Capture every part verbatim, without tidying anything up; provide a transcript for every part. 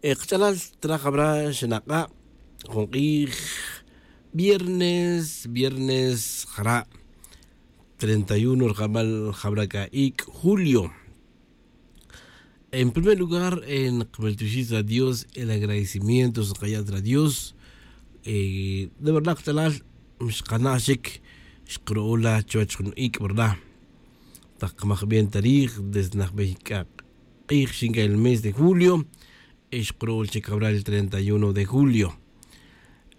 Kach'alal traj jabra xinak'a' jun k'ij viernes viernes jara' treinta y uno rjamal jabra k'a ik' julio. En primer lugar, nqmeltioxij ta dios el agradecimiento xnqaya' ta dios. De verdad kach'alal, xqana' xic xqru'ula chuwech jun ic' verdad. Taq qmaj bien ta rij desde najbey k'a k'ij xinca'il mes de julio, y xqru'ul chic jabra el treinta y uno de julio.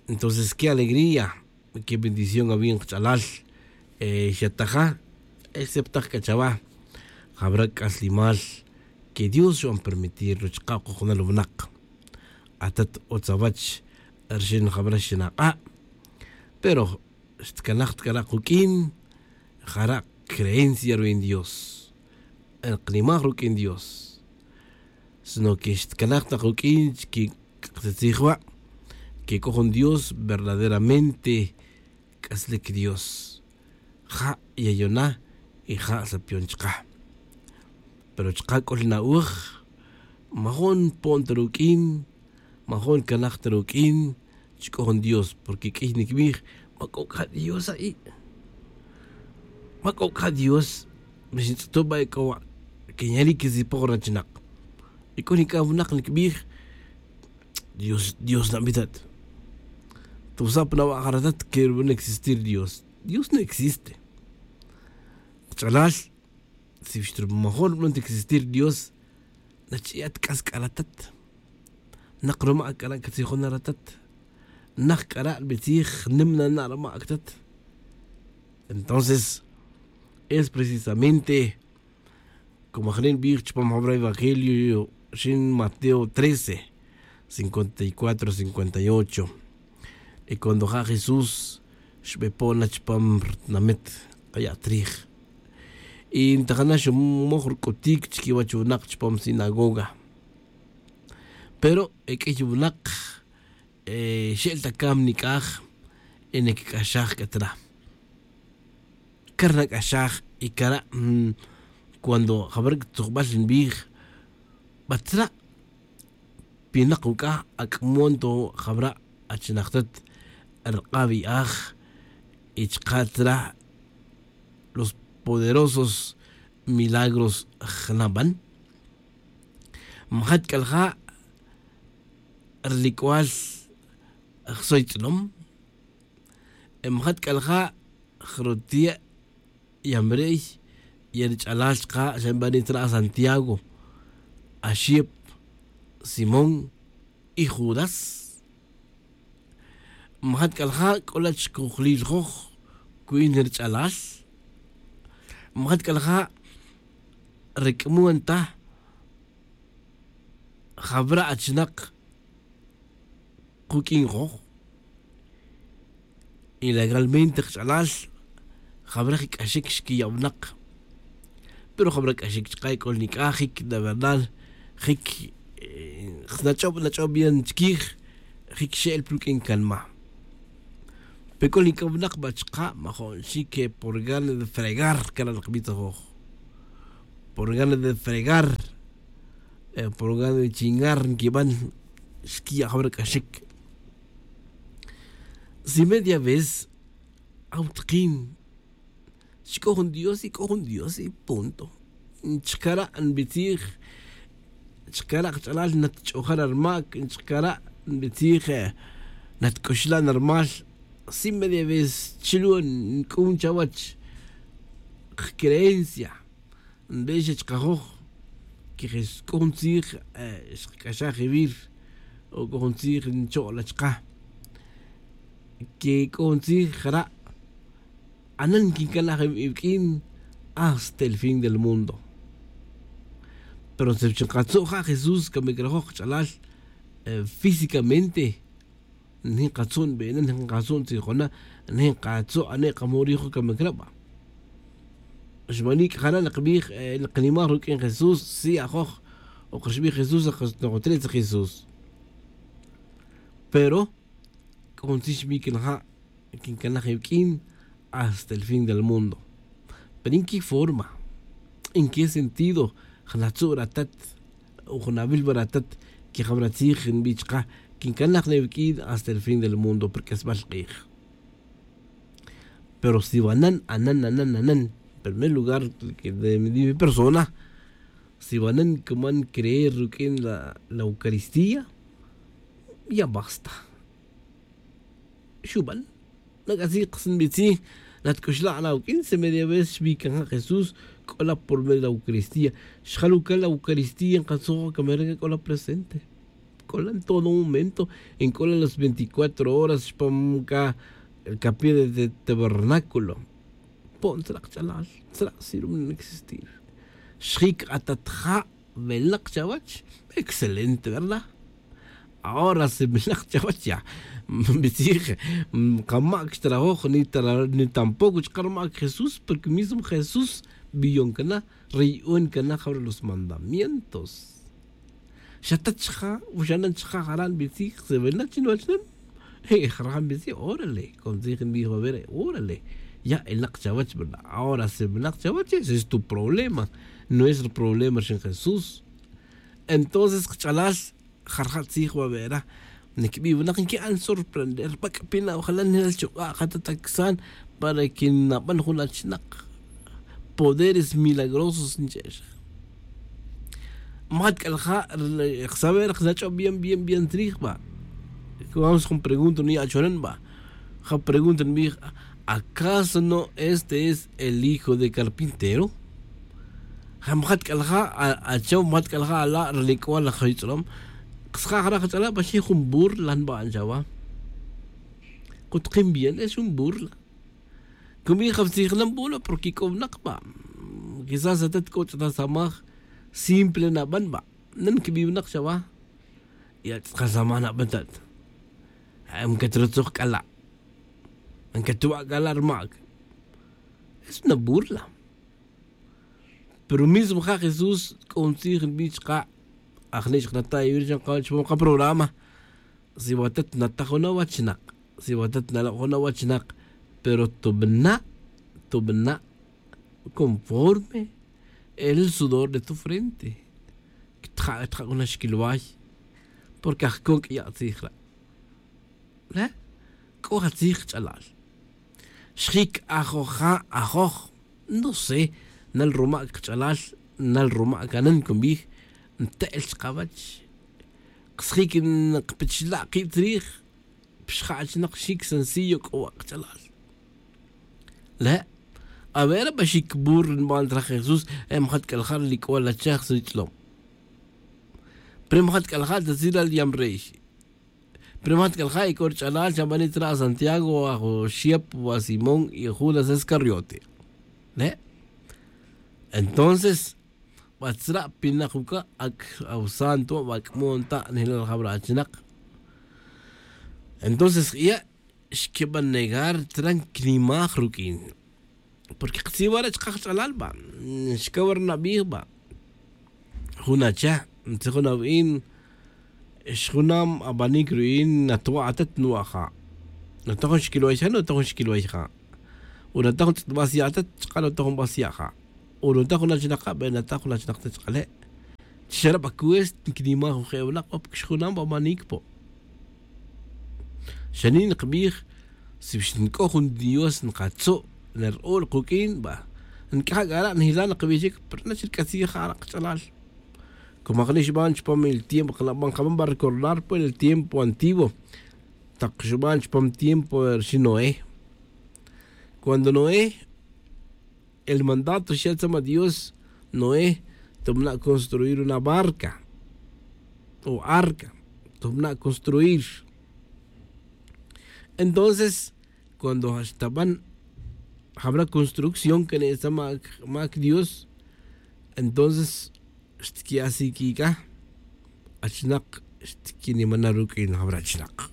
Entonces qué alegría, qué bendición awin kach'alal. Xataja, exceptaj c'a chawa jabra c'aslimal que dios xban permitir ruchka' kojnal winak. Atat utz awach rxin jabra xinak'a'. Pero xtcanaj ta c'ara' kuq'uin jara' creencia ruwin dios. Nqnimaj ruq'uin dios, sino que xtcanaj ta kuq'uin chique ktzij wa' que c'o jun dios verdaderamente c'aslic dios. Ja' yayon na y ja' sapion chka. Pero chka c'o ri na'oj majun npon ta ruq'uin, majun ncanaj ta ruq'uin chi c'o jun dios porque q'uiy niquibij, ma c'o c'a dios a'i'? Ma c'o c'a dios? Mixintz'utu' ba ec'o wa' que nyalic quisipoj rachinak. Y c'o nic'a winak niquibij, dios dios nabitat. Tusa' pa nawa'aj ratat que ruban existir dios. Dios no existe. Kach'alal, si xtrumajol ruban ta existir dios, nachi'at c'as c'a ratat. Nak ruma' c'a ra' catzijon na ratat. Nak c'a ra' nbitzij nim na na' ruma' ctat. Entonces es precisamente como ajni' nbij chupam jabra evangelio xin mateo trece cincuenta y cuatro cincuenta y ocho. Y cuando ja' jesús xbepon na chupam rtinamit kaya' trij, y ntajana xumoj ruc'utic chiquiwech winak chupam sinagoga. Pero e q'uiy winak xe'el ta cam nic'aj y nac'axaj c'a tra. Car nac'axaj y cara' cuando jabra' tzujbal nbij, batzra' pinak uc'a ac'mon to jabra' achinaktat rk'abi'aj y chka' tzra' los poderosos milagros jnaban. Majat c'alja' rilic'ual jsoytz'lom. Majat c'alja' jrutiya' yamrey y rich'alal chka' xa nbani tzra' santiago, axip, simón y judas. Majat c'alja' c'o la' chcojlil joj cuin rich'alal. Majat c'alja' ric'mon ta jabra' achinak kuq'uin joj. Y legalmente kach'alal jabra' jic'axic xquiya' winak. Pero jabra' c'axic chka' c'o nic'a jic de verdad jic nach'ob nach'ob bien chiquij. Jic xe'el pa ruq'uin canma. Pe c'o nic'a winak ba chka' majo'n xic por gana de fregar cara' nqbij ta joj. Por gana de fregar, por gana de chingar nquiban. Xquiya' jabra' c'axic si media vez awtakin. Chi c'o jun dios y c'o jun dios y punto. Chkara' nbitzij chkara' kach'alal natch'oja' na rmac chkara' nbitzij natc'uxla' na rmal. Si media vez chilun nc'un chawach kcreencia nbix chkajoj que c'o jun tzij xkac'axaj iwir o c'o jun tzij ncho'la chka. Que c'o jun tzij jara' anan quincanaj iwq'uin hasta el fin del mundo. Pero si chi nkatzu' ja' jesús camic rajoj kach'alal físicamente nijin katzu' nbena nijin katzu' ntzijona nijin katzu' ane' kamu' rijo camic raba. Xmanik' jara' nakbij naknimaj ruq'uin jesús si ajoj. Oka xbij jesús nokotre' tzij jesús. Pero c'o jun tzij xbij quinaja' quincanaj iwq'uin hasta el fin del mundo. Pero en qué forma? En qué sentido? Jnatzu' ratat o jnawil wa ratat Quejabra tzij nbi' chka' quincanaj ne viq'uin hasta el fin del mundo por q'uesbal k'ij. Pero si vanan anan anan anan en primer lugar de mi persona, si vanan cuman creer ruq'uin la eucaristía, ya basta. Xuban. Nac'atzij kas nbitzij. Lat c'uxla' na uq'uin si media vez xbican ja' jesús c'o la por medio la eucaristía. Xjal ucal la eucaristía nkatzoj camera c'o la presente. C'o la en todo momento. En c'o la las veinticuatro horas xpam ca capilla de tabernáculo. Po'n tzra' kch'alal. Tzra' sirve no existir. Xjic atat ja' melnak chawech. Excelente verdad. Ahora si melnak chawech ya. Nbitzij. Kamac xtrajoj ni tampoco chka' rmac jesús porque mismo jesús biyon cana. Riy'on cana jabra los mandamientos. Xatat chka' uxanan chka' jara' nbitzij si melnak chi nwachnan. Jara' nbitzij órale. Con tzij nbij va ver órale. Ya elnak chawech verdad ahora si melnak chawech ese es tu problema. No es el problema rxin jesús. Entonces kch'alal jarja' tzij va vera. Niquibi' winak nqui'an sorprender bac'pi na ojalal nel chuk'a' jata taksan para que naban jun achinak. Poderes milagrosos nche'ex. Majat c'alja' saber jnach'o bien bien bien trij va. Vamos jun pregunta nuya' achonan va. Ja pregunta nbij. Acaso no este es el hijo de carpintero? Ja majat c'alja' achaw majat c'alja' ala' rlic'ual laj jitz'lom. Ksaja' jara' jach'ala' pa xij jun burla nba'an chawa. Kutkin bien es jun burla. Cumi ja tzij nan burla porque c'o winak va. Quizás atat c'o ch'ata samaj simple naban va. Nan quibi' winak chawa. Ya tz'akan samaj naban tat. Ncatratzoj c'ala'. Ncatuba' c'ala' rmac. Es una burla. Pero mismo ja' jesús c'o ntzij nbi' chka'. Ajni' chka' nata' yawir chan kawech pa maka programa. Si watat nataj jun awachinak si watat nalok' jun awachinak. Pero tubana' tubana' conforme el sudor de tu frente. Ctja' ctja' jun axquilway. Porque ajcon c'ya' tzij ra'. Re' c'o atzij kch'alal. Xjic ajoja' ajoj. No sé. Nal rumac kch'alal. Nal rumac anan cunbij. Nte'el chkawech. Ksjic nkpichla' kib tzrij. Pixja' achinak xic sencillo c'o wa' kch'alal. Le' avera pa xic burla nban traj jesús. Majat c'alja' lic'ual achaj sutz'lom. Pero majat c'alja' ta tzilal yam rey. Pero majat c'alja' y c'o rich'alal chabanik tzra' santiago ajo xiep wa simón y judas escariote. Le' entonces ba tzra' pinak uca' ac awsanto ba c'mon ta' nijlal jabra achinak. Entonces k'iya' xquiban negar tzra' nquinimaj ruq'uin. Porque ktzij wara' chka' jach'alal ba xcaw ri nabij ba. Jun acha ntzij jun awin. Xjunam abanic ru'in natwa' atat nwa' ja'. Nata jun xquilway ja' nata jun xquilway ja'. Wi nata jun tz'it bas ya' atat chka' nata jun bas ya' ja'. Wi nata jun achinak ja' be nata jun achinak ta chkale'. Chi xara' ba cuest nquinimaj jun je' winak ba porque xjunam abanic po. Xani' nkbij si xnc'o jun dios nkatzu' ner'o' ri kuq'uin ba. Nc'aja' c'ara' njila' nkbij chic pero na chi rc'atzij ja' ra' kach'alal. Como ajni' xban chupam el tiempo kanaban kaban ba recordar pues el tiempo antiguo. Tak xuban chupam tiempo rixin noé. Cuando noé el mandato xya' tzama dios noé, tubana' construir una barca o arca. Tubana' construir. Entonces cuando xtaban jabra construcción kene' tzama mac dios. Entonces xtqui' asiquica achinak xtquinimana' ruq'uin jabra achinak.